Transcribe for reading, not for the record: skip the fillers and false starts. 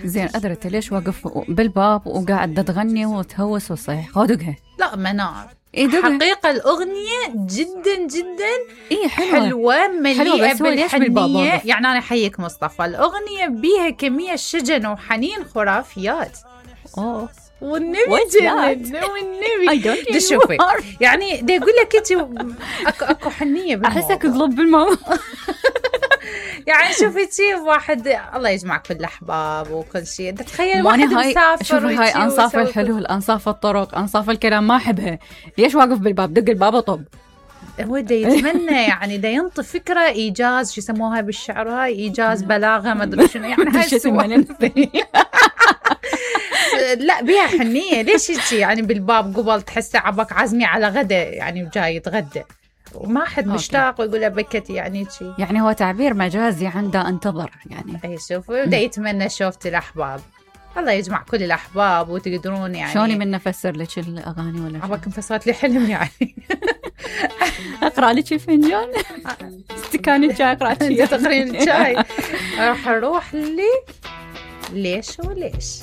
زين أدرت ليش واقف بالباب وقاعد تغني وتهوس وصيح خودقها؟ لا منار دقها. حقيقة الأغنية جدا جدا حلوة مليئة بالحنية. يعني أنا أحييك مصطفى، الأغنية بيها كمية شجن وحنين خرافيات. والنبي شوفي يعني دا يقول لك انت اكو حنيه بالموضوع. احسك تضرب بالماء. يعني شوفي واحد الله يجمع كل الاحباب وكل شيء. تخيل واحد مسافر. شوفي هاي انصاف الحلول، انصاف الطرق، انصاف الكلام، ما احبها. ليش واقف بالباب؟ دق الباب وطب. هو دا يتمنى يعني دا ينطي فكره ايجاز، شو يسموها بالشعر، هاي ايجاز بلاغه ما ادري شنو يعني هاي لا بيها حنية. ليش يجي يعني بالباب قبل تحسي عبك عزمي على غدا يعني وجاي يتغدى وما حد مشتاق ويقول له بكتي يعني شيء. يعني هو تعبير مجازي عنده انتظر يعني. اي شوفوا دا يتمنى شوفتي الأحباب. الله يجمع كل الأحباب وتقدرون يعني. شلوني من نفسر لك الأغاني ولا عبك انفصلت لي حلم يعني. أقرأ لك الفنجان استكان الشاي قرأت تقرين الشاي. راح أروح لي ليش وليش.